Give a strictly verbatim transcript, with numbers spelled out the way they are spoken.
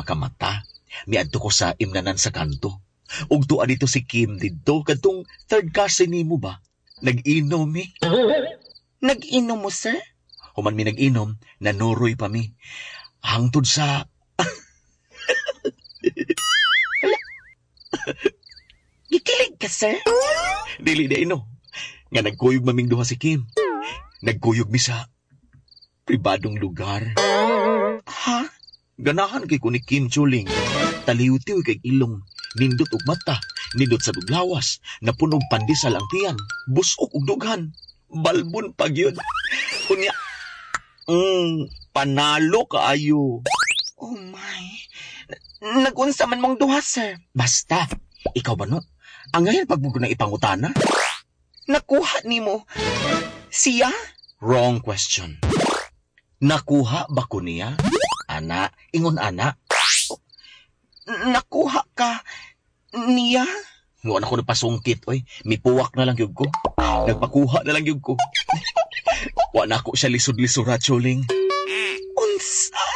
makamata. Miadto ko sa imnanan sa kanto. Ug tuwa dito si Kim didto kadtong third cousin nimo ba? Nag-inom mi. Nag-inom mo, sir? Human mi nag-inom, nanuroy pa mi. Hangtod sa Gikilig ka, sir? Dili na ino. Nga nagkuyog maming duha si Kim. Nagkuyog mi sa pribadong lugar. Ha? Ganahan kay ko ni Kim Chuling. Taliw-tiw kay ilong. Nindot og mata, nindot sa duglawas, napunog pandesal ang tiyan, busok og dughan. Balbon pag yun. Unya, mm, panalo kaayo. Oh my. Nag-unsa man mong duha, sir? Basta, ikaw ba no? Ang ngayon pag mo ko na ipangutana? Nakuha nimo. Siya? Wrong question. Nakuha ba ko niya? Ana, ingon ana. Nakuha ka niya? Wa na ko napasungkit, oy. Mipuwak na lang gyud ko. Nagpakuha na lang gyud ko. Wa na ako siya lisod-lisura, Chuling.